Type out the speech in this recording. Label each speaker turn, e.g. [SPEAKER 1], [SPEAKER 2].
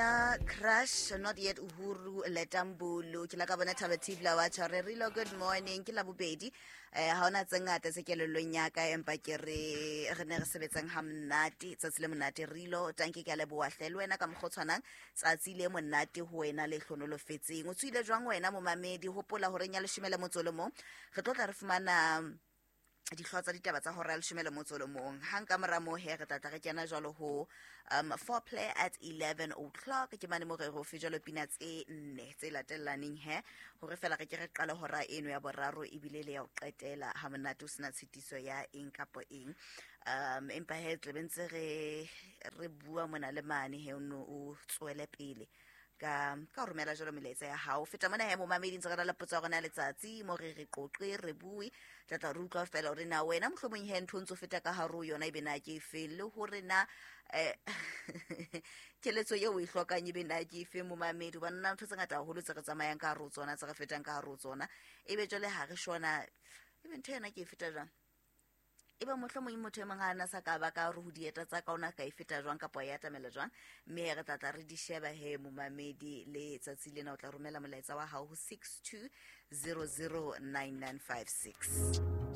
[SPEAKER 1] Pina Crush, Not Yet Uhuru, Letambulu. Ke la ka bona Thaba Tibla wa tjho re Rilo, good morning. Ke la bobedi. Ha hona tse ngata tse kelellong ya ka, empa ke re re ne re sebetsang ha monate, tsatsi le monate Rilo. Tanke ke a leboha hle le wena ka mokgwa o tshwanang, tsatsi le monate ho wena le hlonolofetseng. O tswile jwang wena momamedi? Hopola horeng ya 11, re tlo tla re fumana dihlooho tsa ditaba tsa hora ya 11. Hang ka mora moo he, re tla tla re kena jwalo ho foreplay at 11 o'clock. Ke mane mo re re fe jwalo pina tse nne tse latellaneng he, hore fela re ke re qale hora eno ya boraro ebile le ya ho qetela ha monate, o sena tshitiso ya eng kapo eng. Empa he, tlabe ntse re bua mona le mane he, o no o tswele pele ka ho romela jalo melaetsa ya hao. Feta mona he, momamedi, ntse re na le potso ya rona ya letsatsi mo re re qoqe, re bue, tla tla re utlwa fela hore na wena mohlomong he ntho o ntso feta ka hare ho yona ebe na ke efeng, le hore na keletso eo o e hlokang ebe na ke efeng, momamedi, hobane na ntho tse ngata haholo tse re tsamayang ka hare ho tsona, tse re fetang ka hare ho tsona, ebe jwale ha re shona ebe ntho yona ke e feta jwang, ebe mohlomong motho e mong ha ana sa ka ba ka hore ho dieta tsa ka ona ka e feta jwang kapa ya atamela jwang. Mme re tla tla re di sheba he, momamedi. Le tsatsi lena o tla romela molaetsa wa hao ho 62009956.